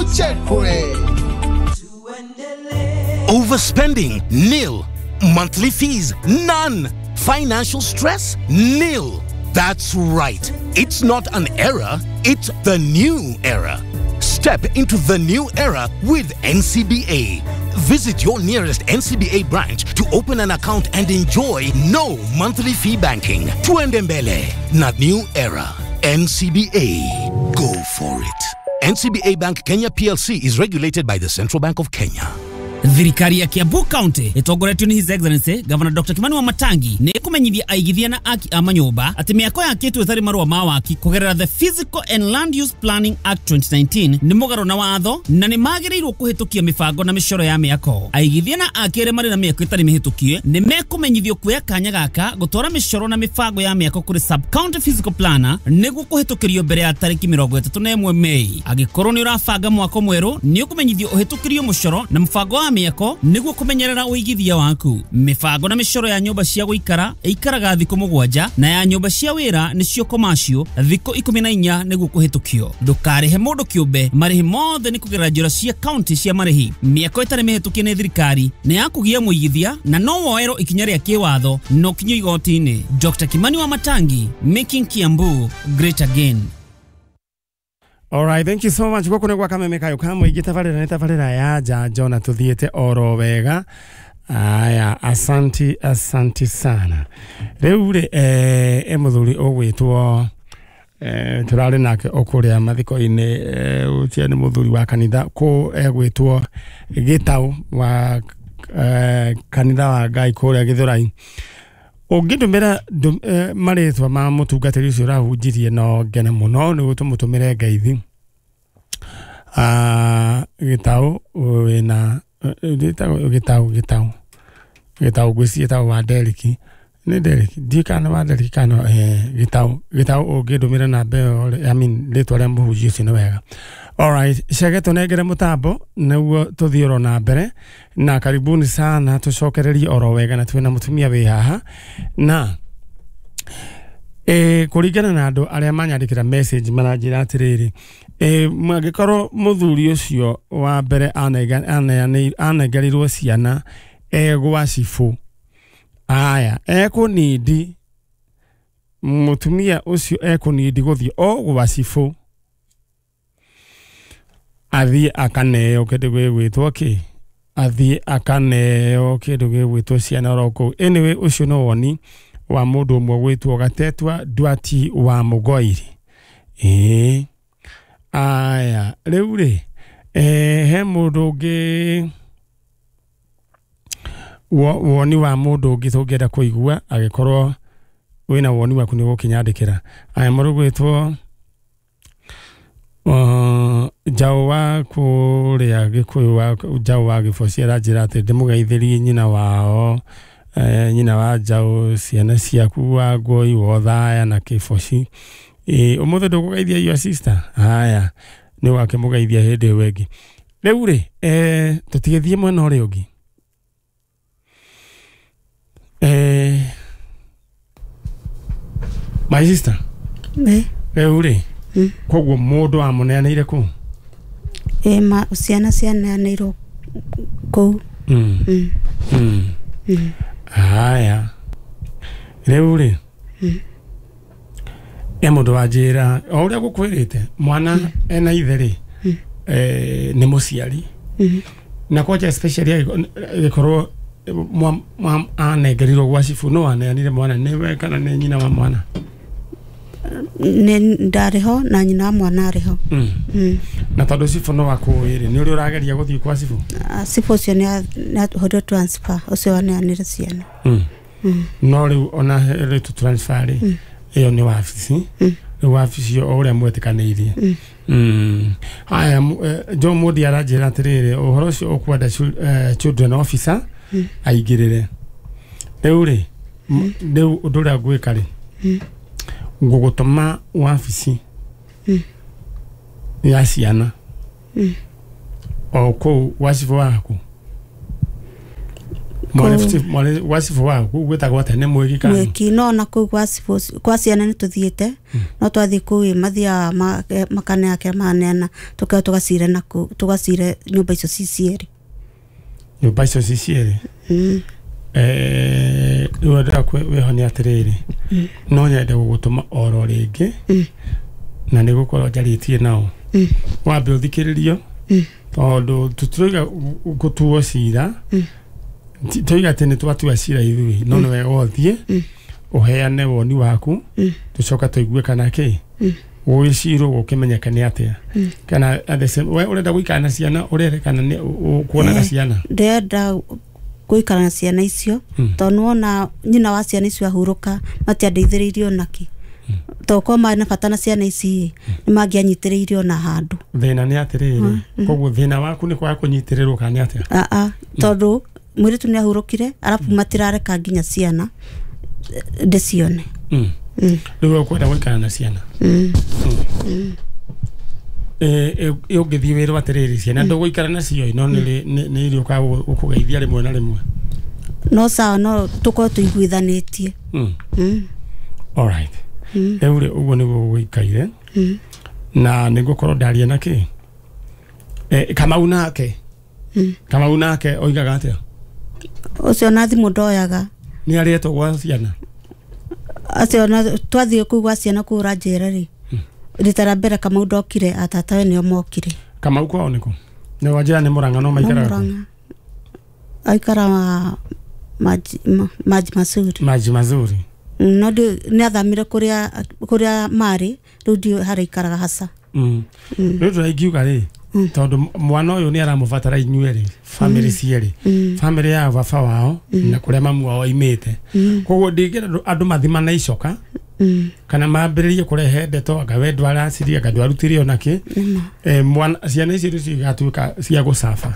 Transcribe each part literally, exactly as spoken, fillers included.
Tuchekwe. Overspending, nil. Monthly fees, none. Financial stress, nil. That's right. It's not an era, it's the new era. Step into the new era with N C B A. Visit your nearest N C B A branch to open an account and enjoy no monthly fee banking. Tuende mbele na new era. N C B A. Go for it. N C B A Bank Kenya P L C is regulated by the Central Bank of Kenya. Thirikari ya Kiambu County ĩtongoretio nĩ His Excellency Governor Doctor Kimani Wamatangi nĩ ĩkũmenyithia aigithia na aki a manyũmba atĩ mĩako yakĩtwo ĩtarĩ marũa ma waki kũgerera the Physical and Land Use Planning Act twenty nineteen nĩ mũgarũ na watho na nĩ magĩrĩirwo kũhĩtũkia mĩbango na mĩcoro ya mĩako. Aigithia na aki arĩa marĩ na mĩako ĩtarĩ mĩhĩtũkie nĩ mekũmenyithio kuoya kanya gaka gũtwara mĩcoro na mĩbango ya mĩako kũrĩ sub county physical planner nĩguo kũhĩtũkĩrio mbere ya tarĩki mĩrongo ĩtatũ na ĩmwe Mei. Angĩkorwo nĩ ũrabanga mwako mwerũ nĩ ũkũmenyithio ũhĩtũkĩrio mũcoro na mũbango wa mĩako nĩguo kũmenyerera ũigithia waku. Mĩbango na mĩcoro ya nyũmba cia gũikara ĩikaraga thikũ mũgwanja na ya nyũmba cia wĩra nĩcio commercial thikũ ikũmi na inya nĩguo kũhĩtũkio. Ndũkarĩhe mũndũ kĩũmbe, marĩhi mothe nĩ kũgerera njĩra cia county cia marĩhi. Mĩako ĩtarĩ mĩhĩtũkie nĩ thirikari nĩ ya kũgia mũigithia na no woerwo ikinya rĩa kĩwatho no kinyio igoti-inĩ. Doctor Kimani Wamatangi, making Kiambu great again. All right, thank you so much. Gũkũ nĩ gwa Kameme Kayo ka mũingĩ, tabarĩra nĩ tabarĩra ya njanjo na tũthiĩte oro wega. Aya, asanti, asanti sana. Rĩu rĩ, eh, e mũthuri ũgwĩtwo eh, tũrarĩ nake o kũrĩa mathiko-inĩ, eh, ũcio nĩ mũthuri wa kanitha kũ egwĩtwo Gĩtaũ wa eh, kanitha wa Ngai kũrĩa Gĩthũrai. Ũngĩndũmĩra eh, marĩtwa ma mũtungatĩri ũcio ũrahunjirie no ngene mũno nĩguo tũmũtũmĩre ngeithi. Ah, Gĩtaũ wĩna gĩtaũ gĩtaũ gĩtaũ gĩtaũ ngwĩciria gĩtaũ wa Deriki nĩ Deriki ndiũĩ kana wa Deriki kana eh, Gĩtaũ Gĩtaũ ũngĩndũmĩra namba ĩyo, I mean rĩtwa rĩa mũhunjia ũcio nĩ wega. Alright, cege tũnengere mũtambo nĩguo tũthiĩ oro na mbere na karibuni sana tũcokererie oro wega na twĩna mũtumia wĩ haha na e, kũringana na andũ arĩa manyandĩkĩra message maranjĩra atĩrĩrĩ, e, mangĩkorwo mũthuri ũcio wa mbere anengerirwo ciana egwa cibũ, aya ekũnindi mũtumia ũcio ekũnindi gũthiĩ o gwa cibũ athiĩ akaneo kĩndũ gĩgwĩtwo kĩ athiĩ akaneo kĩndũ gĩgwĩtwo ciana oro kũu. Anyway, ũcio no woni wa mũndũ ũmwe gwĩtwo Gatetwa Ndwati wa Mũgoiri. Ĩĩ, aya rĩu rĩ, eh, he mũndũ ũngĩ woni wa mũndũ ũngĩ tũngĩenda kũigua, angĩkorwo wĩna woni waku nĩ ũgũkĩnyandĩkĩra. Aya, mũndũ gwĩtwo Uh, Njaũ wa kũrĩa Gĩkũyũ wa Njaũ wa Gĩboci aranjĩra atĩ ndĩmũgeithĩrie nyina wao, eh, nyina wa Njaũ, ciana ciaku wa Ngũi Wothaya na Kĩboci. Ĩ, ũmũthĩ ndũkũgeithia your sister? Haya, nĩ ũgakĩmũgeithia hĩndĩ ĩyo ĩngĩ. Rĩu rĩ, eh, tũtigĩthiĩ mwena ũrĩa ũngĩ. Eh, my sister, rĩu rĩ, koguo mũndũ amũneanĩire kũu? Ĩ, ma ciana cianeanĩirwo kũu. Mm. Mm. Mm. Mm. Haya, rĩu rĩ, e mũndũ wanjĩra o ũrĩa gũkwĩrĩte mwana ena ithe rĩ, eh, nĩ mũciari na kwanja especially agĩkorwo anengerirwo gwa cibũ, no aneanire mwana nĩwe kana nĩ nyina wa mwana? Nĩ ndarĩ ho na nyina wa mwana arĩ ho. Mm. Mm. Na tondũ cibũ no akũĩ rĩ, nĩ ũrĩa ũrageria gũthiĩ kwa cibũ? Cibũ ũcio nĩ ahũrirwo transfer, ũcio waneanire ciana. Mm. Mm. No rĩu ona rĩtu transfer rĩ, ĩyo nĩ wabici. Rĩu wabici o ũrĩa mwetĩkanĩirie. Mm. Haya, John Modi aranjĩra atĩrĩrĩ, ũhoro ũcio ũkwenda children officer aingĩrĩre. Rĩu rĩ, rĩu ũndũ ũrĩa ngwĩka rĩ, ngũgũtũma wabici ya ciana o kũu gwa cibũ waku. Mwale mwarĩ gwa cibũ waku gwĩtagwo atĩa nĩ mwĩki kana mwĩki no na kũu gwa cibũ kwa ciana nĩ tũthiĩte no twathiĩ kũu mathiaga makaneana kĩrĩa maneana tũkeo tũgacire na kũu tũgacire nyũmba icio ci cierĩ nyũmba icio ci cierĩ eh rĩu ndĩra wĩho nĩ atĩrĩrĩ no nyende gũgũtũma oro rĩngĩ na nĩ gũkorwo njarĩtie nao wambe ũthikĩrĩrio tondũ tũtirauga gũtuo cira toiga atĩ nĩ twatua cira ithuĩ no nĩ wega ũthiĩ ũheane woni waku tũcoka tũigue kana kĩ gũgĩcirwo gũkĩmenyeka nĩ atĩa kana at the same we ũrenda gũikara na ciana ũrere kana nĩ ũkuonaga ciana ndĩrenda gũikara na ciana icio tondũ wona nyina wa ciana icio ahurũka matiandeithĩrĩirie onakĩ tondũ korwo marĩ na bata na ciana ici nĩ mangĩanyitĩrĩirie ona handũ thĩna nĩ atĩrĩrĩ koguo thĩna waku nĩ kwaga kũnyitĩrĩrwo kana nĩ atĩa aa tondũ mwĩrĩtu nĩ ahurũkire arabu matirareka nginya ciana ndĩcione rĩu ũkwenda gũikara na ciana ũngĩthiĩ wĩrwo atĩrĩrĩ ciana ndũgũikara nacio no nĩ irĩũkaga gũkũgeithia rĩmwe na rĩmwe no sawa no tũkorwo tũiguithanĩtie alright rĩu rĩ ũguo nĩguo gũikaire na nĩngũkorwo ndaria na kĩ Kamau nake Kamau nake oigaga atĩa ũcio na thimũ ndoyaga nĩ arĩetwo gwa ciana acio na twathiĩ kũu gwa ciana kũu ũranjĩra rĩ rita rĩa mbere Kamau ndokire atatawe nĩo mokire Kamau kwao nĩkũ nĩ wanjĩra nĩ Mũrang'a no maikaraga kũ aikaraga maji maji mazuri maji mazuri no nĩ athamire kũrĩa kũrĩa marĩ rĩu ndiũĩ harĩa aikaraga haca rĩu tũraingiuga rĩ tondũ mwana ũyũ nĩ aramũbatara inyuĩ family cierĩ family ya baba wao na kũrĩa mamu wao aimĩte koguo ndingĩenda andũ mathimane icoka kana mambĩrĩrie kũrehe ndeto anga we ndwaracirie anga ndwarutire ona kĩ mwana ciana ici rĩu cigatuĩka cia gũcaba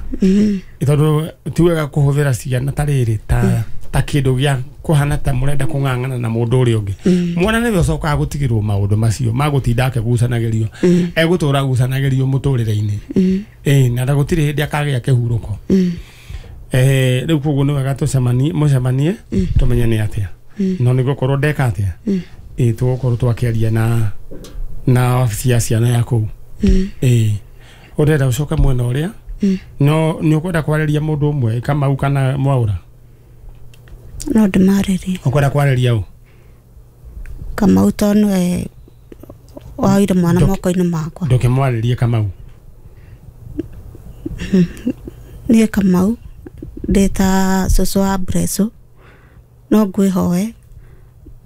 tondũ ti wega kũhũthĩra ciana ta rĩrĩ ta ta kĩndũ gĩa kũhana ta mũrenda kũng'ang'ana na mũndũ ũrĩa ũngĩ mwana nĩwe ũcokaga gũtigĩrwo maũndũ macio ma gũtinda akĩgucanagĩrio egũtũra agucanagĩrio mũtũrĩre-inĩ ĩĩ na gũtirĩ hĩndĩ akagĩa kĩhurũko eh rĩu koguo nĩ wega tũcemanie mũcemanie tũmenye nĩ atĩa no nĩ gũkorwo ndeka atĩa ĩĩ tũgũkorwo twakĩaria na na wabici ya ciana ya kũu ĩĩ ũrenda ũcoke mwena ũrĩa no nĩ ũkwenda kwarĩria mũndũ ũmwe Kamau kana Mwaũra no ndĩmarĩrie ũkwenda kwarĩria ũ Kamau tondũ nĩwe waoire mwana moko-inĩ makwa ndũkĩmwarĩrie Kamau niĩ Kamau ndĩ ta cũcũ wa Mbreco no ngwĩhoe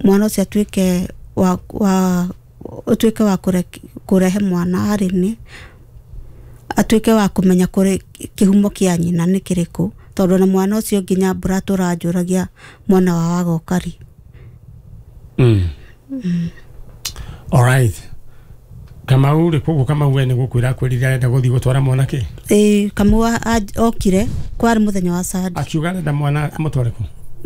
mwana ũcio atuĩke wa wa ũtuĩke wa kũrehe mwana harĩ niĩ atuĩke wa kũmenya kũrĩ kĩhumo kĩa nyina nĩ kĩrĩkũ tondũ na mwana ũcio nginya mbura tũranjũragia mwana wa wagoka rĩ mm. All right Kamau rĩ koguo Kamau we nĩ gũkwĩra akwĩrire arenda gũthiĩ gũtwara mwana kĩ ĩĩ Kamau okire kwarĩ mũthenya wa Sunday akiuga arenda mwana amũtware kũ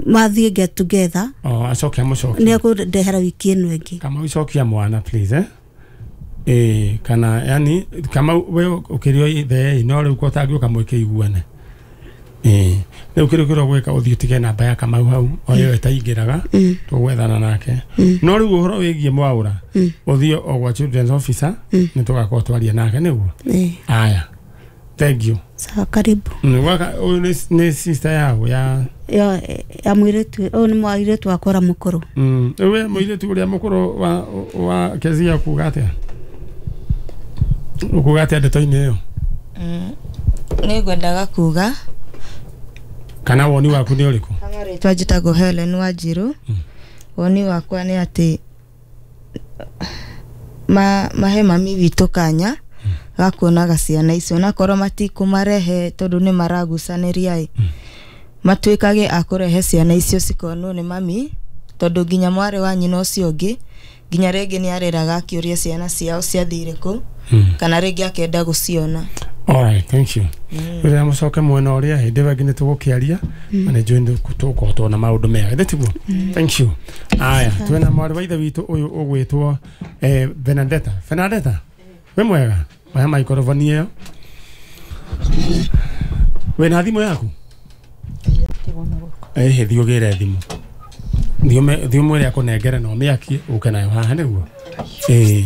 mathiĩ get together oh acoke amũcokie nĩ ekũndehera wiki ĩno ĩngĩ Kamau icokia mwana please eh eh kana yani Kamau we ũkĩrĩ o ithe no rĩu ko tangĩũka mwĩkĩiguane eh rĩu kĩrĩa kĩrĩa gwĩka ũthiĩ ũtige namba ya Kamau hau o ĩyo ĩtaingĩraga tũgwethana nake no rĩu ũhoro wĩgiĩ Mwaũra ũthiĩ o gwa children's officer nĩ tũgakorwo twaria nake nĩguo aya thank you sawa karibu gwaka ũyũ nĩ sister yao ya ya ya mũirĩtu ũyũ nĩ mũirĩtu wakwa ũrĩa mũkũrũ we mũirĩtu ũrĩa mũkũrũ wa wa Kezia kuga atĩa ũkuga atĩa ndeto-inĩ ĩyo nĩ ngwendaga kuga kana woni waku nĩ ũrĩkũ rĩtwa njĩtagwo Helen Wanjiru woni wakwa nĩ atĩ ma mahe mami witũ kanya ga kuonaga ciana icio onakorwo matikũmarehe tondũ nĩ maragucanĩria ĩ matuĩkage a kũrehe ciana icio cikonwo nĩ mami tondũ nginya mwarĩ wa nyina ũcio ũngĩ nginya rĩngĩ nĩ arĩraga akĩũria ciana ciao ciathire kũ kana rĩngĩ akenda gũciona. All right, thank you. Rĩrĩa mũcoke mwena ũrĩa hĩndĩ ĩyo ĩngĩ nĩ tũgũkĩaria na nĩ njũĩ tũgũkorwo tuona maũndũ mega githĩ tiguo? Thank you. Aya, twĩna mwarĩ wa ithe witũ ũyũ ũgwĩtwo eh, Benadetta. Benadetta, wĩ mwega? Oya maikoroboni ĩyo. Wĩna thimũ yaku? Ĩhĩ thiĩ ũgĩre thimũ. Thiĩ ũmwĩre akũnengere na ũmĩakie ũke nayo haha nĩguo. Ĩĩ.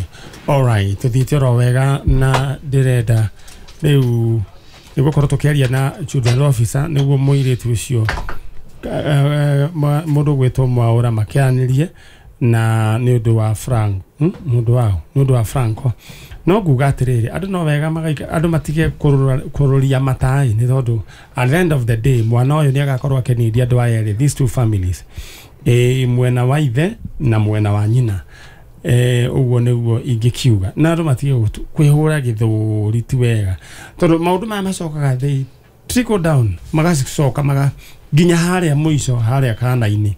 Alright, tũthiĩte oro wega na ndĩrenda rĩu nĩgũkorwo tũkĩaria na children officer nĩguo mũirĩtu ũcio mũndũ ũgwĩtwo Mwaũra makĩaranĩrie na nĩ ũndũ wa Frank, mũndũ wao nĩ ũndũ wa Franco. No nguga atĩrĩrĩ, andũ no wega magaika andũ matige kũrũria matai nĩ tondũ at the end of the day mwana ũyũ nĩ agakorwo akĩnĩria andũ aya erĩ, these two families, e, mwena wa ithe na mwena wa nyina. Eh, ũguo nĩguo ingĩkiuga na andũ matige kwĩhũra gĩthũri ti wega tondũ maũndũ maya macokaga they trickle down magacoka maga nginya harĩa mũico harĩa kana-inĩ.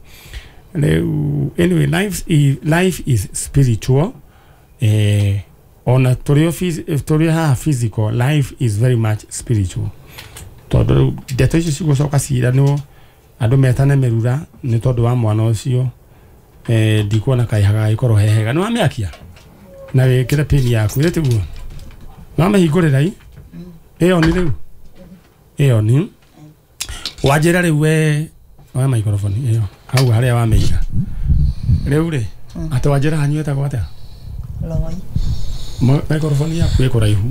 Rĩu anyway, life is, life is spiritual. Eh, ona tũrĩ tũrĩ haha physical, life is very much spiritual tondũ rĩu ndeto icio cigũcoka ciranwo andũ metane mĩrura nĩ tondũ wa mwana ũcio. Eh, ndikuona kaĩ hagagĩkorwo he hega. Nĩ wamĩakia na wĩkĩre pin yaku ĩ tiguo? Nĩ wamĩhingũrĩra i ĩyo nĩ rĩu ĩyo nĩ wanjĩra rĩu we wa microphone ĩyo hau harĩa wamĩiga rĩu rĩ atĩ wanjĩra hanyu ĩtagwo atĩa? Loi. Microphone yaku ĩ kũraihu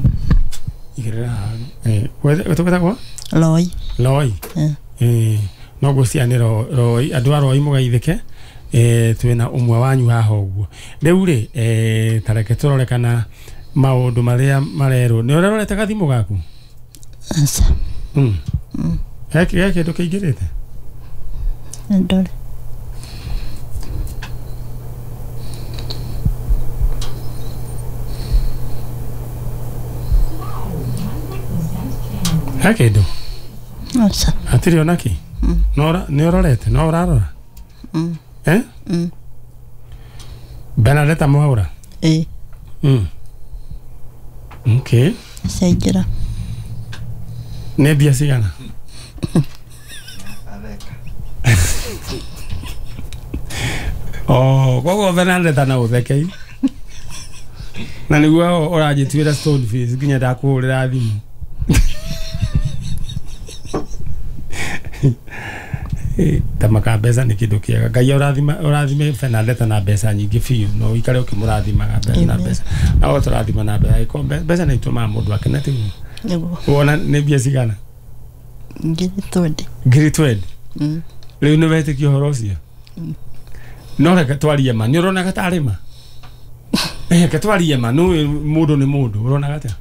igĩrĩra haha. Eh, wetagwo Loi. Loi. Eh, no ngwĩciria nĩ Loi, andũ a Loi mũgeithĩke. Eh, twĩna ũmwe wanyu haha ũguo rĩu rĩ eh, tareke tũrore kana maũndũ marĩa marerwo. Nĩ ũrarorete gathimũ gaku? Aca. Mm. He he kĩndũ kĩingĩrĩte? Ndore. He kĩndũ? Aca. Hatirĩ ona kĩ? No nĩ ũrorete? No ũrarora? Mm. Eh? Mm. Bernadetta Mwaura? Eh. Mm. Okay. Ciaingĩra. Nĩ mbia cigana? Oh, koguo Bernadetta na ũthekei na nĩguo ũranjĩtuĩra stone face nginya ndakũhũrĩra thimũ. Tamaka mbeca nĩ kĩndũ kĩega. Ngai ũrathima ũrathime Bernadetta na mbeca nyingĩ biũ no ũikare ũkĩmũrathimaga na mbeca na o tũrathima na mbeca. Mbeca nĩ itũmaga mũndũ akene tiguo? Nĩguo. Wona nĩ mbia cigana? Ngiri twendi. Ngiri twendi? Mm. Rĩu nĩ wetĩkia ũhoro ũcio? No reke twarie ma, nĩ ũronaga tarĩ ma? Reke twarie ma, nĩ mũndũ nĩ mũndũ, ũronaga atĩa?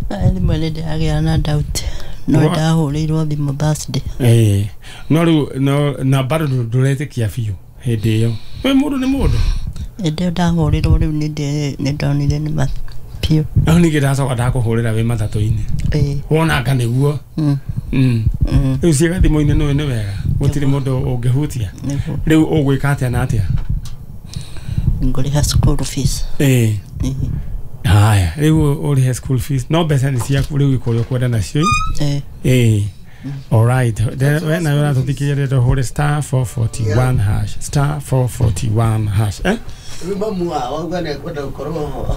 Rĩmwe nĩ ndĩragĩa na doubt. No ndahũrĩirwo thimũ Thursday. Eh, no rĩu no na bado ndũretĩkia biũ hĩndĩ ĩyo. We mũndũ nĩ mũndũ. Hĩndĩ ĩyo ndahũrĩirwo rĩu nĩ ndonire nĩ ma biũ. No ningĩ ndacoka ndakũhũrĩra wĩ matatũ-inĩ. Ĩĩ. Wonanga nĩguo. Mm. Mm. Rĩu ciĩ gathimũ-inĩ nĩũĩ nĩ wega gũtirĩ mũndũ ũngĩhutia. Nĩguo. Rĩu ũgwĩka atĩa na atĩa? Ngũrĩha school fees. Ĩĩ. Haya, rĩu ũrĩhe school fees no mbeca nĩ ciaku rĩu ĩkũrĩa ũkwenda nacio. Ĩĩ. Ĩĩ. All right. We nawe ũratũthikĩrĩria rĩrĩa ũhũre star four forty-one hash star four forty-one hash. Eh?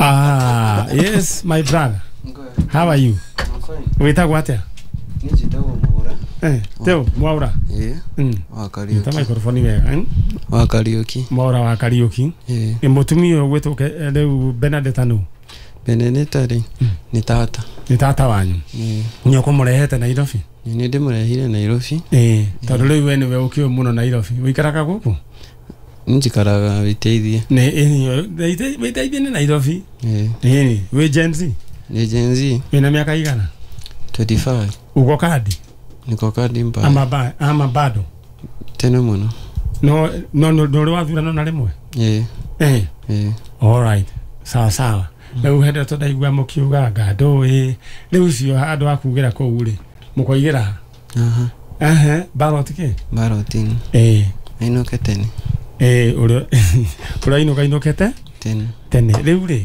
Ah, yes, my brother. How are you? Wĩtagwo atĩa? Niĩ njĩtagwo Mwaura. Eh, Teo Mwaura. Ĩĩ. Mm. Wa Kariuki. Ta microphone wega. Eh? Wa Kariuki. Mwaura wa Kariuki. Ĩĩ. Nĩ mũtumia ũyũ ũgwĩtwo rĩu Bernadetta nũ? Bernadetta rĩ nĩ tata. Nĩ tata wanyu. Ĩĩ. Nĩ ũkũmũrehete Nairobi? Nĩ ndĩmũrehire Nairobi. Ĩĩ. Tondũ rĩu we nĩwe ũkĩũĩ mũno Nairobi. Ũikaraga gũkũ? Njikaraga Wĩteithie. Nĩ Wĩteithie nĩ Nairobi? Ĩĩ. Ĩĩ. Wĩ Gen Z? Nĩ Gen Z. Wĩna mĩaka igana? twenty-five. Uko kadi? Niko kadi mbaya. Ama ba, ama bado? Tena mũno. No no no ndũrĩ wathurano na rĩmwe? Ĩĩ. Ĩĩ. Ĩĩ. All right. Sawa sawa. Rĩu hĩndĩ ĩyo ndaigua mũkiuga anga ndũĩ. Rĩu ũcio handũ ha kugĩra kũu rĩ, mũkoigĩra ha? Aha. Ehe, ballot kĩ? Balloting. Ĩĩ. Ainũke tene. Ĩĩ, ũrĩa ũrĩa ainũka ainũkĩte? Tene. Tene. Rĩu rĩ,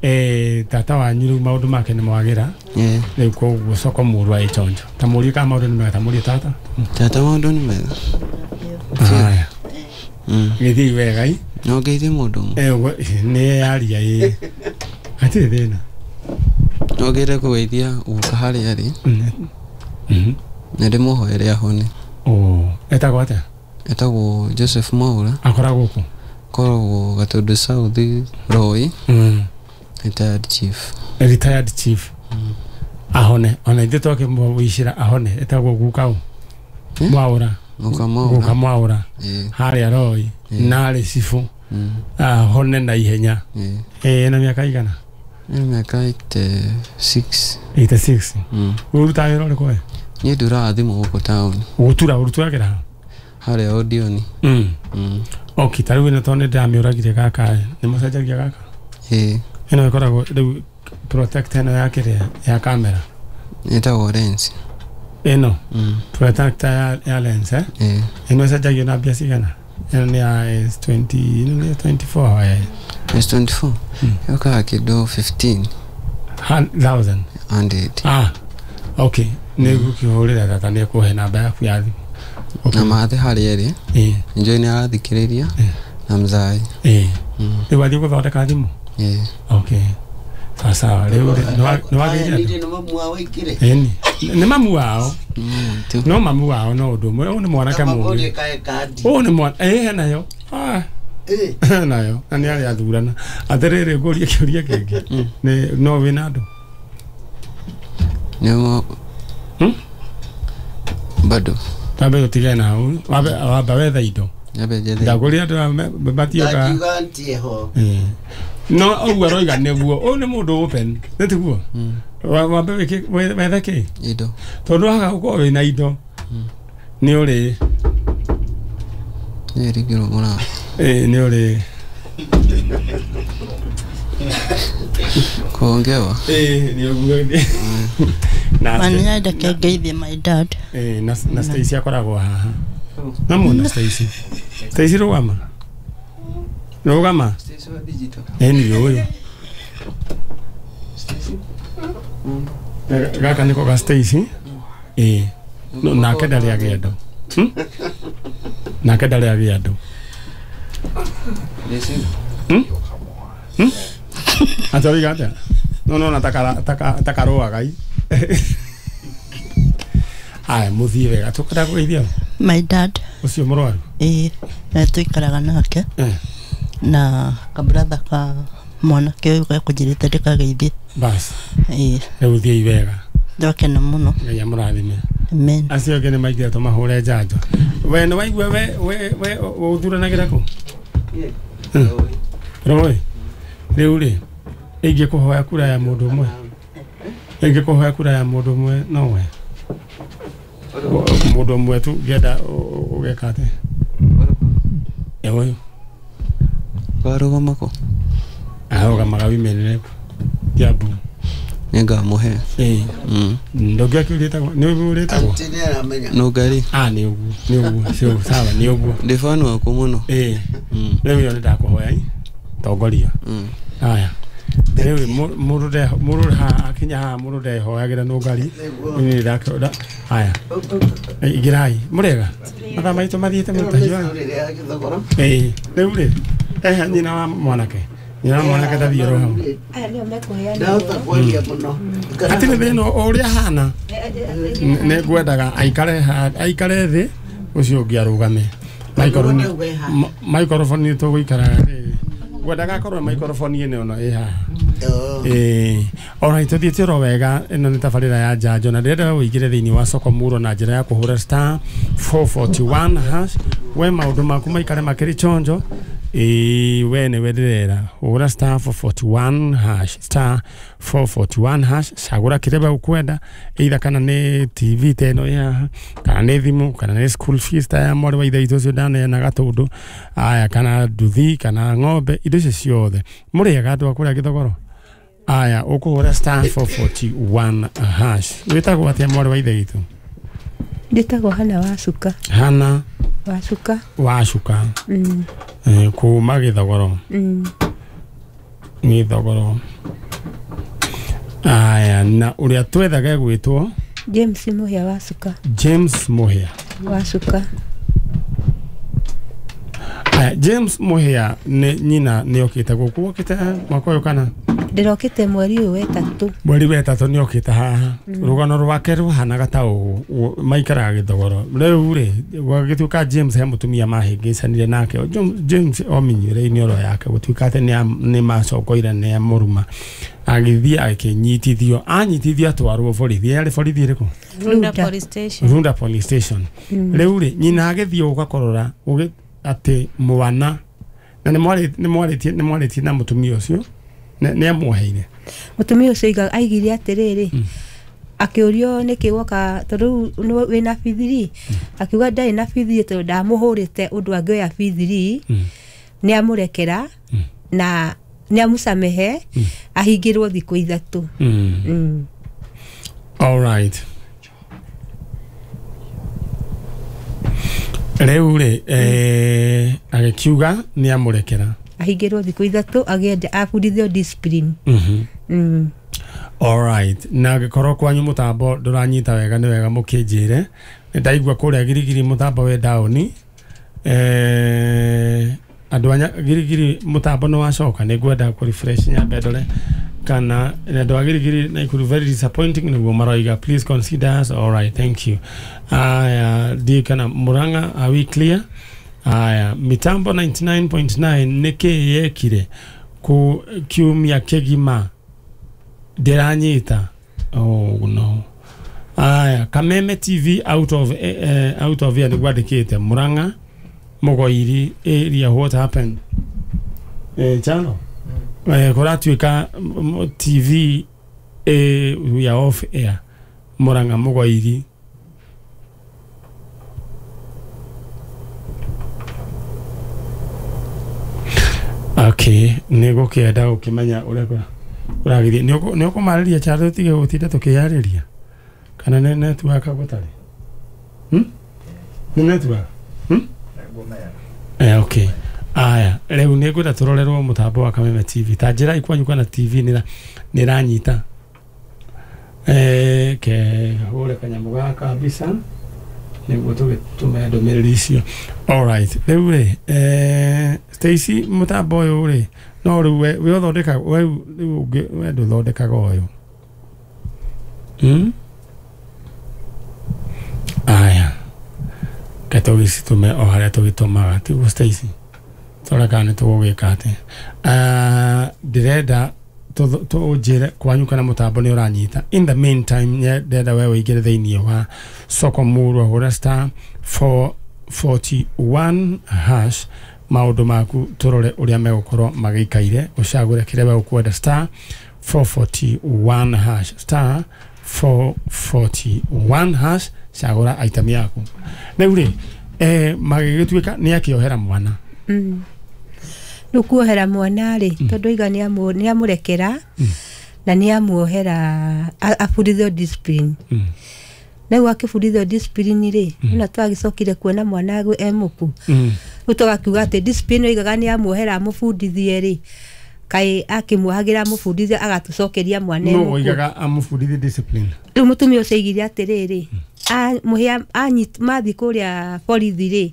eh, tata wanyu rĩu maũndũ make nĩ mwagĩra. Ĩĩ. Rĩu koguo soko mũrũ wa ĩchonjo. Ta mũrie kana maũndũ nĩ mega, ta mũrie tata. Tata maũndũ nĩ mega. Haya. Mm. Gĩthiĩ wega i? No ngeithie mũndũ ũmwe. Eh, nĩ yaria ĩ. Hatirĩ thĩna. No ngĩre kũgeithia guka harĩa arĩ. Mhm. Na ndĩmũhoere ahone. Oh. Etagwo atĩa? Etagwo Joseph Mwaura. Akoragwo kũ? Koragwo Gatundu South Roy. Mm. Retired chief. Retired chief. Mm. Ahone ona ithuĩ twakĩmũicĩra ahone. Etagwo guka ũ? Eh? Mwaura. Guka Mwaura. Guka Mwaura. Eh. Harĩa Roy. Eh. Narĩ cibũ. Mm. Ahone na ihenya. Eh. Eh, na mĩaka igana? Ena mĩaka eighty-six. eighty-six. Mm. Ũrutaga wĩra ũrĩkũ we? Niĩ nduraga thimũ gũkũ taũni. Gũtura ũruturagĩra ha? Harĩa Odioni. Mm. Mm. Okay, ta rĩu ĩno tondũ nĩ ndĩramĩũragire gaka nĩ mũcenjagia gaka? Ĩĩ. Ĩno ĩkoragwo rĩu protector ĩno ya kĩrĩa ya kamera. Ĩtagwo lens. Ĩno? Mm. Protector ya, ya lens eh? Ĩĩ. Ĩno ĩcenjagio na mbia cigana? Ĩno nĩ ya S twenty, ĩno nĩ ya twenty-four eh. S twenty-four? Mm. Yokaga kĩndũ fifteen. Thousand. Hundred. Ah. Okay. Nĩ ngũkĩhũrĩra tata nĩ ekũhe namba yaku ya thimũ. Okay. Na mathe harĩa ĩrĩ. Ĩĩ. Njũĩ nĩ arathikĩrĩria na mzai. Ĩĩ. Mm. Rĩu wathiĩ gũthondeka thimũ? Ĩĩ. Okay. Sawa sawa. Rĩu nĩ wagĩire andũ? Nĩ mamu wao aingĩre. Ĩni. Nĩ mamu wao. Mm, No mamu wao no ũndũ ũmwe. Ũyũ nĩ mwanake mũũgĩ. Ũyũ nĩ mwana. Ĩĩ henayo. Ah. Ĩĩ. Nayo. Na nĩ arĩa athurana. Atĩrĩrĩ ngũrie kĩũria kĩngĩ. Nĩ no wĩna andũ? Nĩ mo. Hmm? Bado. Tambe tũtigane na hau. Wambe wamba wethe indo. Nyambe njethe. Ndakũria andũ matioka. Ndakiuga ntie ho. Ĩĩ. No ũguo aroiga nĩguo. Ũyũ nĩ mũndũ open. Nĩ tiguo? Wambe wĩke wethe kĩ? Indo. Tondũ waga gũkorwo wĩna indo. Nĩ ũrĩ. Nĩ ringirwo mũrango. Ĩĩ nĩ ũrĩ. Kuongewa? Ĩĩ nĩ ũguo. Na Mani ngeithie my dad. Eh, na na Stacy akoragwo haha. Na muona Stacy. Stacy rũgama. Rũgama. Stacy wa digital. Eh ni ũyũ. Stacy. Gaka nĩko ga Stacy. Eh. No nake ndarĩ agĩa andũ. Hmm? Nake ndarĩ agĩa andũ. Hmm? Hmm? Atariga atĩa? No no na takara takarũaga i. Aya mũthiĩ wega tũkwenda kũgeithia my dad ũcio mũrwaru. Ĩĩ na tũikaraga nake Eh. na kabratha ka mwanake ũyũ gekũnjĩrĩte ndĩkageithie. Bas. Ĩĩ. Rĩu thiĩi wega. Ndakena mũno. Ngai amũrathime. Amen. Acio angĩ nĩ maingĩra tũmahũre njanjo. We nĩ waigua we we we ũthuranagĩra kũ? Rũĩ. Rĩu rĩ ingĩkũhoya kura ya mũndũ ũmwe. Ingĩkũhoya kura ya mũndũ ũmwe no we. Mũndũ ũmwe tu ngĩenda ũgeka atĩa? Ĩ ũyũ. Warũgama kũ? Arũgamaga women rep. Kiambu. Nĩngamũhe. Ĩĩ. Mm. Ndũngĩakĩũria ĩtagwo nĩ ũguo ũrĩtagwo? Aunty nĩ aramenya. Nũngari. Ah nĩ ũguo nĩ ũguo cio sawa nĩ ũguo. Ndĩ fan waku mũno. Ĩĩ. Mm. Rĩu ĩyo nĩ ndakũhoya i tongoria. Mm. Aya. Rĩu mũndũ nde mũndũ haha akinya haha mũndũ ndehoyagĩra nũngari. Nĩ ndakĩona. Aya. Ingĩrai mũrega. Mathaa maitũ mathiĩte mũtahiũ. Ĩĩ. Rĩu rĩ ehe nyina wa mwanake. Nyina wa mwanake ndathiĩ oro hau. Aya nĩo mekũheana. Ndahota kwaria mũno. Hatirĩ thĩna o ũrĩa ahana. Nĩ ngwendaga aikare aikare thĩ ũcio ũngĩ arũgame. Microphone nĩ tũgũikaraga rĩrĩ. Ngwendaga akorwo microphone ĩno ĩno ĩ haha. Ĩĩ. Alright, tũthiĩte oro wega. Ĩno nĩ tabarĩra ya njanjo na ndĩrenda ũingĩre thĩinĩ wa soko muro na njĩra ya kũhũra star four forty-one hash. We maũndũ maku maikare makĩrĩ chonjo. Ĩĩ we nĩwe ndĩrera. Hũra star four forty-one hash star four forty-one hash. Cagũra kĩrĩa ũkwenda, either kana nĩ T V ta ĩno ĩ haha, kana nĩ thimũ, kana nĩ school fees ta ya mwarĩ wa ithe witũ ũcio ndaneana Gatũndũ. Aya kana nduthi kana ng'ombe, indo icio ciothe. Mũrĩega andũ a kũrĩa Gĩthogoro? Aya ũkũhũra star four forty-one hash. Wĩtagwo atĩa mwarĩ wa ithe witũ? Njĩtagwo Hana Wacuka. Hana Wacuka. Wacuka. Mm. Eh, kuma Gĩthogoro. Mm. Gĩthogoro. Aya na ũrĩa twethaga egwĩtwo James Muhia Wacuka. James Muhia Wacuka. Aya James Muhia nĩ nyina nĩ okĩte gũkũ. Okĩte mwaka ũyũ kana? Ndĩrokĩte mweri ũyũ wetatũ. Mweri wetatũ nĩ okĩte haha. Rũgano rwake rũhanaga ta ũũ, maikaraga Gĩthogoro. Rĩu rĩ, gwagĩtuĩka James he mũtumia mahĩngĩcanire nake. James ominyire-inĩ oro yake gũtuĩka atĩ nĩ macokoire nĩ amũruma. Agĩthiĩ akĩnyitithio, anyitithio atwarwo borithi. Yarĩ borithi ĩrĩkũ? Runda Police Station. Runda Police Station. Rĩu rĩ, nyina agĩthiĩ ũgakorora atĩ mwana na nĩ mwarĩtie nĩ mwarĩtie na mũtumia ũcio nĩ amuoheire. Mũtumia ũcio aigire atĩrĩrĩ, akĩũrio nĩkĩ woka tondũ rĩu wĩna bithiri, akiuga ndarĩ na bithiri tondũ ndamũhũrĩte ũndũ angĩoya bithiri, nĩ amũrekera na nĩ amũcamehe ahingĩrwo thikũ ithatũ. All right. Rĩu rĩ, eh, agĩkiuga nĩ amũrekera ahingĩrwo thikũ ithatũ agĩenda abundithio discipline. Mm. All right. Na angĩkorwo kwanyu mũtambo ndũranyita wega nĩ wega mũkĩnjĩre. Nĩ ndaigua kũrĩa Girigiri mũtambo wĩ down. Eh, andũ a Girigiri mũtambo nĩ wacoka, nĩ ngwenda kũ refresh nyambe ndore kana andũ a Girigiri Nakuru very disappointing nĩguo maroiga, please consider us. All right, thank you. Aya, ndiĩ kana Murang'a, are we clear? Aya, mitambo ninety-nine point nine nĩkĩ yekire ku kiumia kĩgima ndĩranyita? Oh no. Aya, Kameme T V out of eh, out of here nĩgwandĩkĩte Murang'a Mugoiri area, what happened? Eh, chano eh, kũratuĩka T V eh, we are off air Murang'a Mugoiri. Okay, nĩ gũkĩenda gũkĩmenya ũrĩa ũragĩthiĩ. Nĩ ũkũmarĩria Charo tũtige gũtinda tũkĩyarĩria kana nĩ network gũtarĩ? Hmm? Nĩ network? Hmm? Eh, okay. Aya, rĩu nĩ ngwenda tũrorerwo mũtambo wa Kameme T V. Ta njĩra ikwanyu kana T V nĩ ĩranyita. Eh, ke hũre kanyamũ gaka mbica nĩguo tũgĩtũme ndũmĩrĩri icio. All right. Rĩu rĩ, eh, Stacy mũtambo ũyũ rĩ, no rĩu we we ũthondekaga we rĩu ũngĩ we ndũthondekaga ũyũ. Hmm? Aya. Ke tũgĩcitũme o harĩa tũgĩtũmaga, tiguo Stacy? Tũrore kana nĩ tũgũgĩka atĩa. Ah, ndĩrenda tũnjĩre kwanyu kana mũtambo nĩ ũranyita. In the meantime, ndĩrenda we ũingĩre thĩinĩ wa soko murwa hũra star four forty-one hash maũndũ maku tũrore ũrĩa megũkorwo magĩikaire, ũcagũre kĩrĩa we ũkwenda star four forty-one hash star four forty-one hash, cagũra item yaku. Rĩu rĩ, eh, magĩgĩtuĩka nĩ akĩohera mwana. Mm. Rĩu kuohera mwana rĩ, tondũ aiga nĩ amũrekera na nĩ amuohera abundithio discipline. Rĩu akĩbundithio discipline rĩ, ona twagĩcokire kuona mwana e mũku. Rĩu tũgakiuga atĩ discipline oigaga nĩ amuohera amũbundithie rĩ, kaĩ akĩmuohagĩra amũbundithie agatũcokeria mwana e mũku. Nũ oigaga amũbundithie discipline? Rĩu mũtumia ũcio aigire atĩrĩrĩ, mũhĩa mathiĩ kũrĩa borithi rĩ,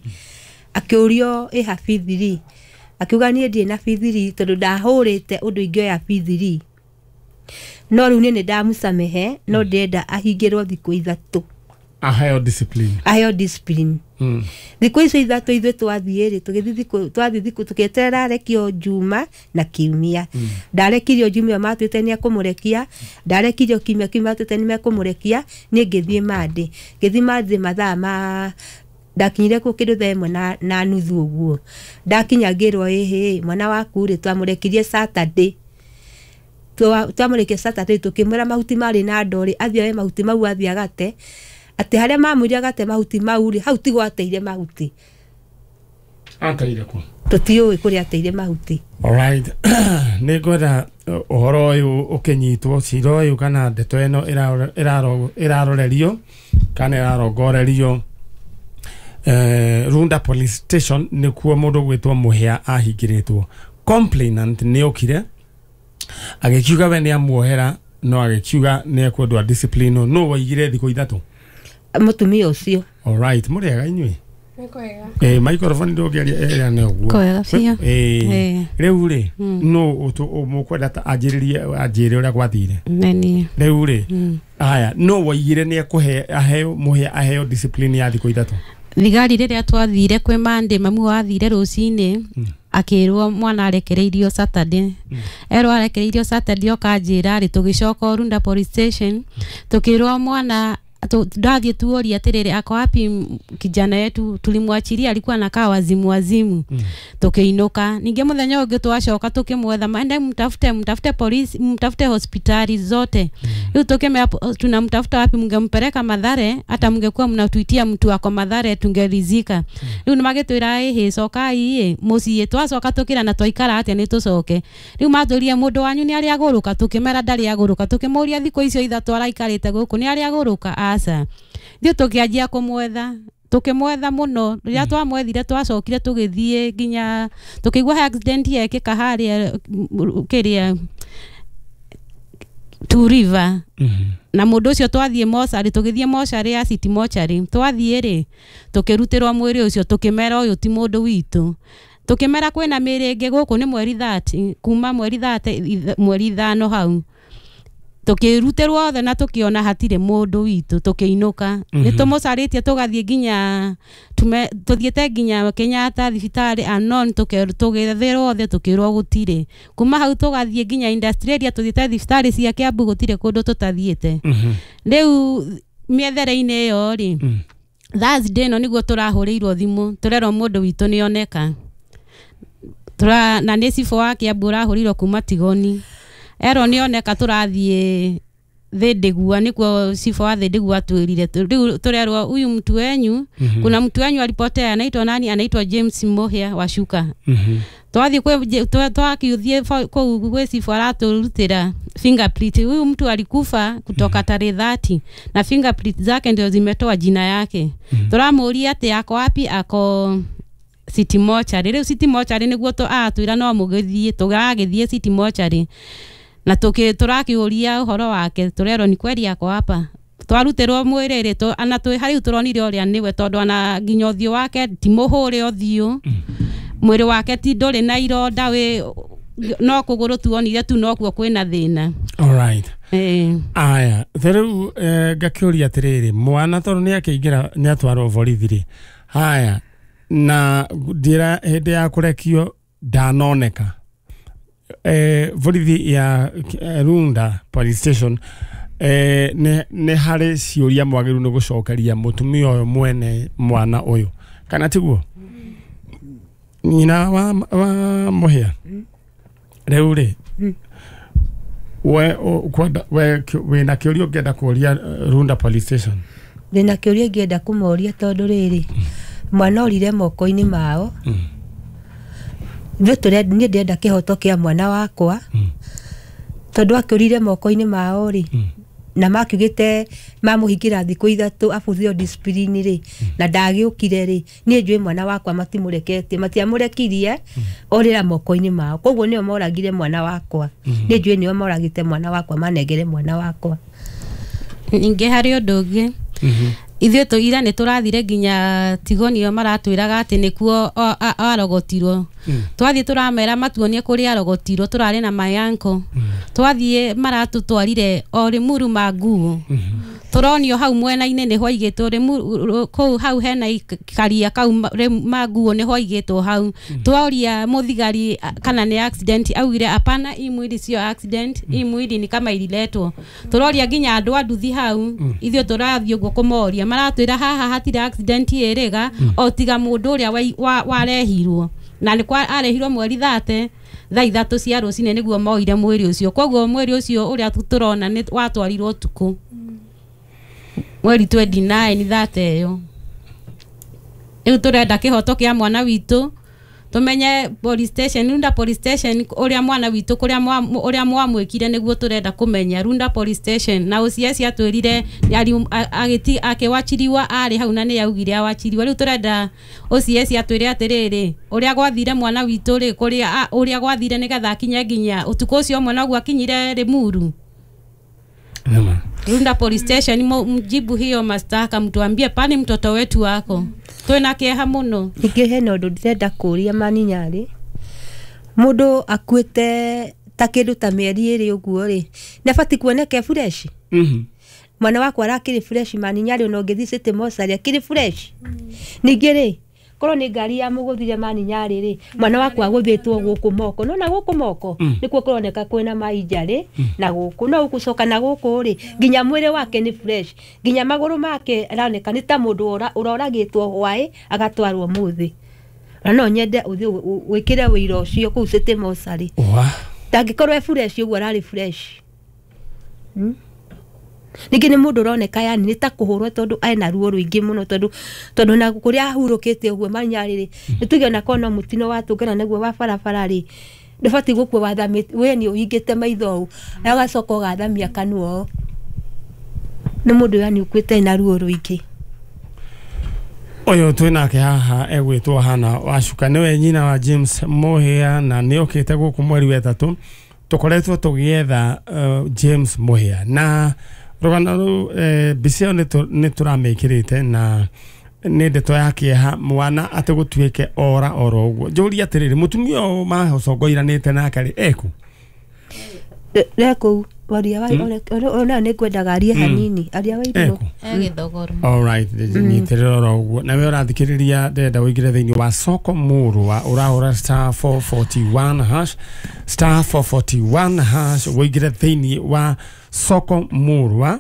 akĩũrio ĩha bithiri, akiuga niĩ ndirĩ na bithiri tondũ ndahũrĩte ũndũ ingĩoya bithiri, no rĩu niĩ nĩ ndamũcamehe, no ndĩrenda ahingĩrwo thikũ ithatũ aheo discipline, aheo discipline. Thikũ icio ithatũ ithuĩ twathiĩ rĩ, tũgĩthiĩ thikũ twathiĩ thikũ tũkĩeterera arekio Juma na Kiumia. Ndarekirio Jumia matuĩte nĩ ekũmũrekia, ndarekirio Kiumia, Kiumia matuĩte nĩ mekũmũrekia, niĩ ngĩthiĩ Monday, ngĩthiĩ Monday mathaa ma ndakinyire kũu kĩndũ thaa ĩmwe na, na nuthu ũguo. Ndakinya ngĩrwo ĩhĩ mwana waku rĩ twamũrekirie Saturday, twamũrekirie Saturday tũkĩmwĩra mahuti marĩ na ndoo rĩ athiĩ oe mahuti mau athiĩ agate, atĩ harĩa mamwĩrire agate mahuti mau rĩ hau tigo ateire mahuti. Ateire kũ? Tũtiũĩ kũrĩa ateire mahuti. All right. Nĩ ngwenda ũhoro ũyũ ũkĩnyitwo, cira ũyũ kana ndeto ĩno ĩrarorerio kana ĩrarongorerio eh, Runda Police Station nĩkuo mũndũ gwĩtwo Mũhĩa ahingĩrĩtwo. Complainant nĩ okire agĩkiuga we nĩ amuohera, no agĩkiuga nĩ ekwendwo discipline. No waigire thikũ ithatũ mũtumia ũcio. All right, mũrĩega inyuĩ? Eh microphone ndũngĩaria ĩrĩa nĩ ũguo. Kwega biũ. Eh rĩu rĩ no mũkwenda ta anjĩrĩrie anjĩre ũrĩa gwathire. Nĩ Rĩu rĩ aya no waigire nĩ ekũhe aheo mũhĩa aheo discipline ya thikũ ithatũ. Thigari rĩrĩa twathire kwĩ Monday mamu wathire rũcinĩ akĩrwo mwana arekereirio Saturday. Erwo arekereirio Saturday okanjĩra rĩ tũgĩcoka Runda police station tũkĩrwo mwana ndathiĩ tuoria atĩrĩrĩ ako wapi kijana yetu tulimwachilia alikuwa anakaa wazimu wazimu. Mm. Tukiinuka ningĩ mũthenya ũngĩ twacoka tukimwetha maende mtafute mtafute polisi mtafute hospitali zote. Rĩu tukimea tunamtafuta wapi mngempeleka Mathare hata mngekuwa mnatuitia mtu ako Mathare tungerizika. Rĩu mm. nĩmagĩtwĩra ĩhĩ cokai ĩ mũciĩ twacoka tukira na twaikara atĩa nĩ tũcoke. Rĩu matũrie mũndũ wanyu nĩ arĩ agũrũka tukimera ndarĩ agũrũka tukĩmũria thikũ icio ithatũ araikarĩte gũkũ nĩ arĩ agũrũka aca. Thiĩ tũkĩanjia kũmwetha tukimwetha muno riria twamwethire twacokire tugithie nginya tukigua accident yekika haria kiria Two River. Mm -hmm. Na mundu ucio twathie mocarĩ tugithie mocarĩ ya City mocarĩ twathie ri tukirutirwo mwiri ucio tukimera uyu ti mundu witu tukimera kwina mĩĩrĩ ĩngĩ gũkũ nĩ mweri thirty kuma mweri thirty mweri ithano hau tukirutirwo othe na tukiona hatire mundu witu tukiinuka. Mm -hmm. Ni tumucarĩtie tugathie nginya tume tuthiete nginya Kenyatta thibitarĩ anon tukethirwo othe tukirwo gutire kuma hau tugathie nginya industrial area tuthiete thibitarĩ cia Kiambu gutire kundu tutathiete. Mm -hmm. Riu miethere-inĩ ĩyo ri mm. Thursday no niguo turahũrĩirwo thimu turerwo mundu witu nĩoneka tura na nĩ cibũ wa Kiambu ũrahũrĩirwo kuma Tigoni ero nĩoneka tũrathiĩ Thindigua nĩkuo cibũ wa Thindigua atwĩrire rĩu tũrerwo huyu mtu wenyu. Mm -hmm. Kuna mtu wenyu alipotea anaitwa nani anaitwa James Muhia wa Shuka. Mm -hmm. Twathiĩ kwĩ twakiuthie kũu gwĩ cibũ aratũrutĩra fingerprint huyu mtu alikufa kutoka mm -hmm. tarehe thirty na fingerprint zake ndio zimetoa jina yake. Mm -hmm. Tũramũria atĩ ako wapi ako City Mortuary rĩu City Mortuary nĩguo atwĩra no mũgĩthiĩ tũgagĩthiĩ City Mortuary na tuki turakiuria uhoro wake turerwo ni kweli ako hapa twarutirwo mwĩrĩ rĩ tu ana twi hariu turonire ũrĩa niwe tondu ana nginya ũthiũ wake ti mũhũre ũthiũ mwĩrĩ wake ti ndũrĩ na ironda wĩ no kũgũrũ tuonire tu nokuo kwĩna thĩna. All right. Eh aya rĩu ngakĩũria atĩrĩrĩ mwana tondũ nĩ akĩingĩra nĩ atwarwo borithi rĩ haya na ndĩra hĩndĩ ya kũrekio ndanoneka eh borithi ya Runda police station eh ne ne harĩ ciũria mwagĩrĩirwo nĩ gũcokeria mũtumia ũyũ mwene mwana ũyũ kana tiguo nyina wa, wa Muhia rĩu rĩ we kwenda we wĩna kĩũria ũngĩenda kũria Runda police station? Ndĩna kĩũria ingĩenda kũmoria tondũ rĩrĩ mwana orire moko-inĩ mao. Ithuĩ tũrenda niĩ ndĩrenda kĩhoto kĩa mwana wakwa tondũ akĩũrire moko-inĩ mao rĩ na makiugĩte mamũhingĩra thikũ ithatũ abuthio discipline rĩ na ndagĩũkire rĩ niĩ njũĩ mwana wakwa matimũreketie matiamũrekirie orĩra moko-inĩ mao koguo nĩo moragire mwana wakwa niĩ njũĩ nĩo moragĩte mwana wakwa manengere mwana wakwa. Ningĩ harĩ ũndũ ũngĩ ithuĩ tũira nĩ tũrathire nginya Tigoni ĩyo maratwĩraga atĩ nĩkuo arogotirwo. Twathiĩ tũramera matuonie kũrĩa arogotirwo tũrarĩ na my uncle. Twathiĩ maratũtwarire o Limuru manguo tũronio hau mwena-inĩ nĩho aigĩtwo Limuru kũu hau hena karia kau manguo nĩho aigĩtwo hau. Tworia mũthigari kana nĩ accident augire apana hii mwili sio accident hii mwili ni kama ililetwo. Tũroria nginya andũ a nduthi hau ithuĩ tũrathiĩ ũguo kũmoria maratwĩra haha hatirĩ accident ĩrĩga o tiga mũndũ ũrĩa warehirwo na nĩ kwa arehirwo mweri thate thaa ithatũ cia rũcinĩ nĩguo moire mwĩrĩ ũcio koguo mwĩrĩ ũcio ũrĩa tũrona nĩ watwarirwo ũtukũ mweri twenty nine thate ĩyo. Rĩu tũrenda kĩhoto kĩa mwana witũ tumenye police station Runda police station ũrĩa mwana witũ kũrĩa ũrĩa mwamwĩkire nĩguo tũrenda kũmenya Runda police station na O C S atwĩrire agĩti akĩwachiriwa arĩ hau na nĩ augire awachiriwa rĩu tũrenda O C S atwĩre atĩrĩrĩ ũrĩa gwathire mwana witũ rĩ kũrĩa ũrĩa gwathire nĩgetha akinye nginya ũtukũ ũcio mwana ũguo akinyire Limuru. Nĩma. Runda Police Station mjibu hiyo mashtaka, mtuambie pani mtoto wetu wako. Twina kieha muno. Ningĩ hena ũndũ ndĩrenda kũria Maninyarĩ, mũndũ akuĩte ta kĩndũ ta mĩeri ĩrĩ ũguo rĩ, nĩ abatiĩ kuoneka e fresh? Mhm. Mwana wakwa arakĩrĩ fresh Maninyarĩ, ona ũngĩthiĩ City Mortuary akĩrĩ fresh. Ningĩ rĩ, korwo nĩ ngari ya mũgũthire Maninyarĩ rĩ, mwana wakwa agũthĩtwo gũkũ moko, nona gũkũ moko nĩkuo kũroneka kwĩna mainjarĩ na gũkũ no gũcoka na gũkũ rĩ, nginya mwĩrĩ wake nĩ fresh, nginya magũrũ make aroneka nĩ ta mũndũ ũroragĩtwo hwaĩ agatwarwo mũthĩ. Na no nyende ũthiĩ wĩkĩre wĩira ũcio kũu City Mortuary. Ndangĩkorwo e fresh ũguo ararĩ fresh. Ningĩ nĩ mũndũ ũroneka yani nĩ ta kũhũrwo tondũ ena ruo rũingĩ mũno, tondũ tondũ na kũrĩa ahurũkĩte ũguo Maninyarĩ rĩ, nĩ tuge ona korwo no mũtino watũngana naguo wa barabara rĩ, ndũbatiĩ gũkua wathamĩte, we nĩ ũhingĩte maitho ũũ na ũgacoka ũgathamia kanua ũũ. Nĩ mũndũ yani ũkuĩte ena ruo rũingĩ. Ũyũ twĩ nake haha egwĩtwo Hannah Wacuka, nĩwe nyina wa James Mũhĩa na nĩ okĩte gũkũ mweri wa ĩtatũ. Tũkoretwo tũgĩetha uh, James Mũhĩa na rũgano rũu eh, mbica ĩyo nĩ tũramĩkĩrĩte na nĩ ndeto ya kĩeha mwana atĩ gũtuĩke ora oro ũguo. Njũrie atĩrĩrĩ, mũtumia ũyũ macogoiranĩte nake rĩ eku? Rekũu waria wa ona nĩ ngwendaga arie hanini, aria wa irũ. Gĩthogoro. All right, nyitĩrĩra oro ũguo. Nawe ũrathikĩrĩria ndĩrenda ũingĩre thĩinĩ wa soko mũrwa, ũrahũra star four forty-one hash, star four forty-one hash, ũingĩre thĩinĩ wa soko mũrwa,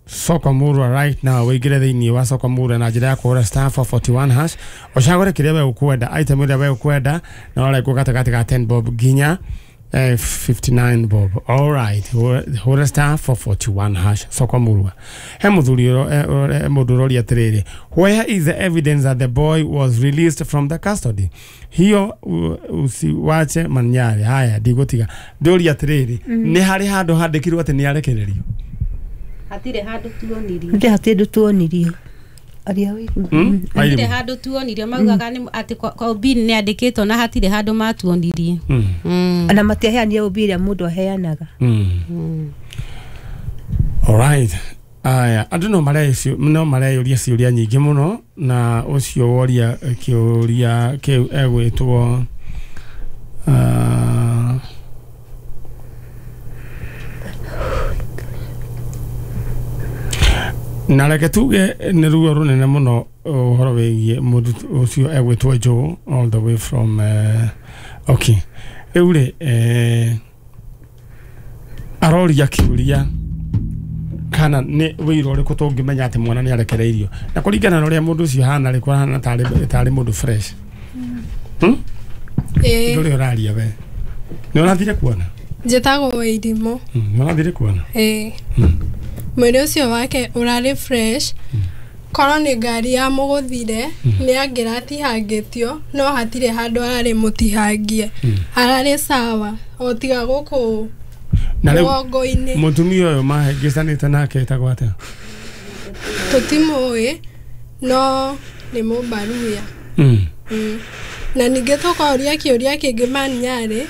soko mũrwa right now, ũingĩre thĩinĩ wa soko mũrwa na njĩra ya kũhũra star four forty-one hash, ũcagũre kĩrĩa we ũkwenda, item ĩrĩa we ũkwenda, na ũrarengwo gatagatĩ ka ten bob nginya Eh, fifty-nine bob. All right, hũra star four forty-one hash soko mũrwa. He mũthuri mũndũ ũroria atĩrĩrĩ, where is the evidence that the boy was released from the custody? Hiyo usiwache Maninyarĩ. Haya, ndigũtiga ndũria atĩrĩrĩ, nĩ harĩ handũ handĩkirwo atĩ nĩ arekererio? Hatirĩ handũ tuonirio. Hatirĩ handũ tuonirio. Aria mm? Hatirĩ handũ tuonirio, maugaga nĩ atĩ kwa Obini nĩ andĩkĩtwo na hatirĩ handũ matuonirie. Mm. Mm. Na matiaheanire Obi ĩrĩa mũndũ aheanaga. Mm. Mm. All right. Aya, andũ no mareyũria no mareyũria ciũria nyingĩ mũno, na ũcio woria kĩũria kĩu egwĩtwo uh, na reke tuge nĩ ruo rũnene mũno ũhoro wĩgiĩ mũndũ ũcio egwĩtwo Joe all the way from uh, okay. Rĩu rĩ eh, aroria kĩũria kana nĩ wĩira ũrĩkũ tũngĩmenya atĩ mwana nĩ arekereirio, na kũringana na ũrĩa mũndũ ũcio ahana rĩ, kũhana tarĩ tarĩ mũndũ fresh. Hmm? Ĩĩ. Ndũrĩ ũraria we. Nĩ ũrathire kuona? Njĩtagwo Wairimũ. Nĩ ũrathire kuona? Ĩĩ. Mwĩrĩ ũcio wake ũrarĩ fresh, korwo nĩ ngari ya mũgũthire nĩ angĩratihangĩtio, no hatirĩ handũ ararĩ mũtihangie, ararĩ sawa o tiga gũkũ mũgongo-inĩ. Mũtumia ũyũ mahĩngĩcanĩte nake etagwo atĩa? Tũtimũĩ, no nĩ Mũmbaruya. Na ningĩ tũkoria kĩũria kĩngĩ Maninyarĩ,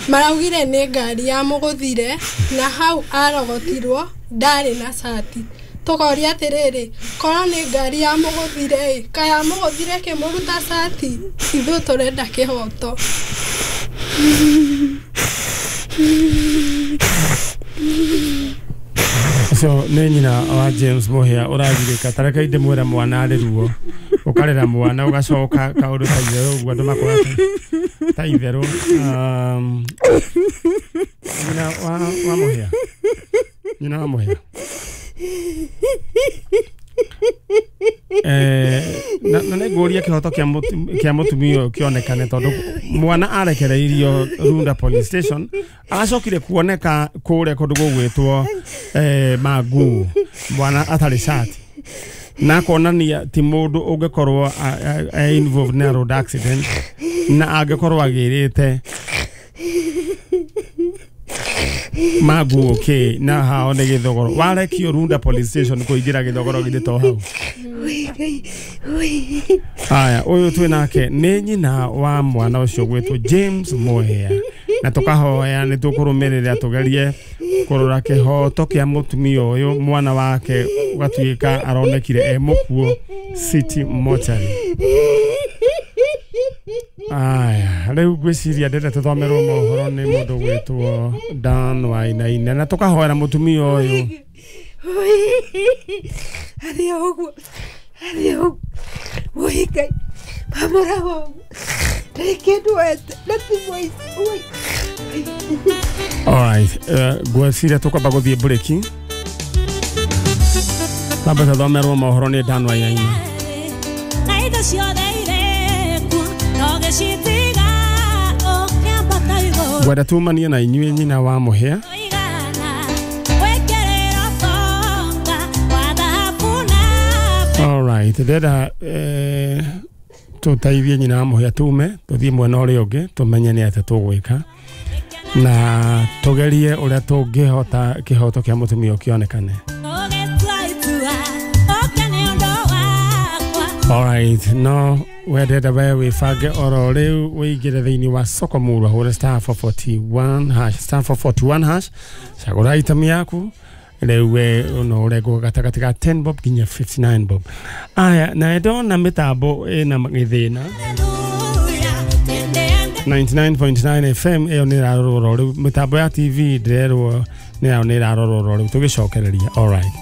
maraugire nĩ ngari ya mũgũthire na hau arogotirwo ndarĩ na cati. Tũkoria atĩrĩrĩ, korwo nĩ ngari ya mũgũthire ĩ, kaĩ amũgũthire ĩkĩmũruta cati? Ithuĩ tũrenda kĩhoto. Ũcio nĩ nyina wa James Mũhĩa ũragirĩka, ta reke ndĩmwĩre mwana arĩ ruo, ũkarera mwana ũgacoka kaũndũ ta itherũ ũguo andũ makoga ta itherũ. Um, nyina wa, wa Mũhĩa, nyina wa Mũhĩa eh, na nĩ ngũria kĩhoto kĩa mũtumia ũyũ kĩonekane, tondũ mwana arekereirio Runda Police Station, agacokire kuoneka kũrĩa kũndũ gũgwĩtwo eh, Mangũ, mwana atarĩ cati, na akonania ti mũndũ ũngĩkorwo e involved na road accident, na angĩkorwo agĩrĩte Mangũ okay, na hao nĩ Gĩthogoro. Warekio Runda Police Station kũingĩra Gĩthogoro githĩ to hau? Aya, ũyũ twĩ nake nĩ nyina wa mwana ũcio gwĩtwo James Mũhĩa. Na tukahoya nĩ tũkũrũmĩrĩra tũgerie kũrora kĩhoto kĩa mũtumia ũyũ mwana wake gatuĩka aronekire e mũkuo City Mortuary. Aya, rĩu ngwĩciria ndĩrenda tũthomerwo mohoro nĩ mũndũ gwĩtwo Dan Wainaina na tũkahoera mũtumia ũyũ. Arĩ o ũguo, arĩ o ũguo. Woi Ngai, mamũraga ũguo. Ndarĩ kĩndũ wete, na ti mũici. Woi. Alright, uh, ngwĩciria tũkwamba gũthiĩ mburĩki. Twambe tũthomerwo mohoro nĩ Dan Wainaina. Na indo ciothe irĩ kuo, no gĩcitiga ũkĩambata igũrũ. Ngwenda tumanie na inyuĩ nyina wa mũhĩa. Alright, ndĩrenda eh, tũteithie nyina wa mũhĩa tume tũthiĩ mwena ũrĩa ũngĩ tũmenye nĩ atĩa tũgwĩka na tũgerie ũrĩa tũngĩhota kĩhoto kĩa mũtumia ũyũ kĩonekane. Alright, no wendete we wĩbange oro rĩu wĩingĩre thĩinĩ wa soko murwa hũre star four forty-one hash star four forty-one hash cagũra item yaku rĩu we no ũrengwo gatagatĩ ka ten bob nginya fifty-nine bob. Aya, na ndona mĩtambo ĩna gĩthĩna ninety-nine point nine F M ĩyo nĩ ĩrarorwo rĩu mĩtambo ya T V ndĩrerwo nĩyo nĩ ĩrarorwo rĩu tũgĩcokereria. Alright,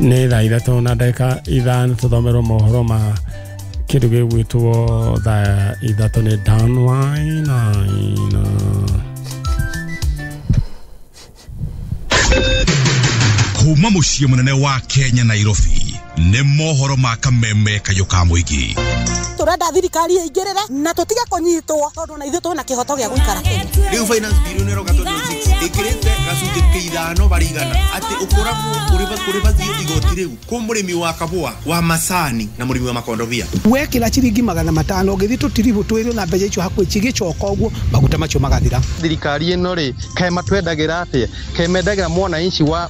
nĩ thaa ithatũ na ndagĩka ithano tũthomerwo mohoro ma kĩndũ gĩgwĩtwo thaa ithatũ nĩ Dan Wainaina. Kuma mũciĩ mũnene wa Kenya Nairobi nĩ mohoro ma kameme kayũ ka mũingĩ. Turenda thirikari ĩingĩrĩre na tũtige kũnyitwo tondũ na ithuĩ twĩna kĩhoto gĩa gũikara Kenya. Rĩu finance bill nĩ ĩroka twenty twenty-six ĩkĩrĩte gacunjĩ ka ithano barĩ igana atĩ ũkoragwo ũrĩ kũrĩ bathiĩ igoti rĩu kũ mũrĩmi wa kabũa wa macani na mũrĩmi wa makondobia. Wekĩra ciringi magana matano ũgĩthiĩ tũtiribũ twĩrĩ na mbeca icio hakuhĩ cigĩcoka ũguo maguta macio magathira. Thirikari ĩno rĩ kaĩ matwendagĩra atĩa? Kaĩ mendagĩra mwananchi wa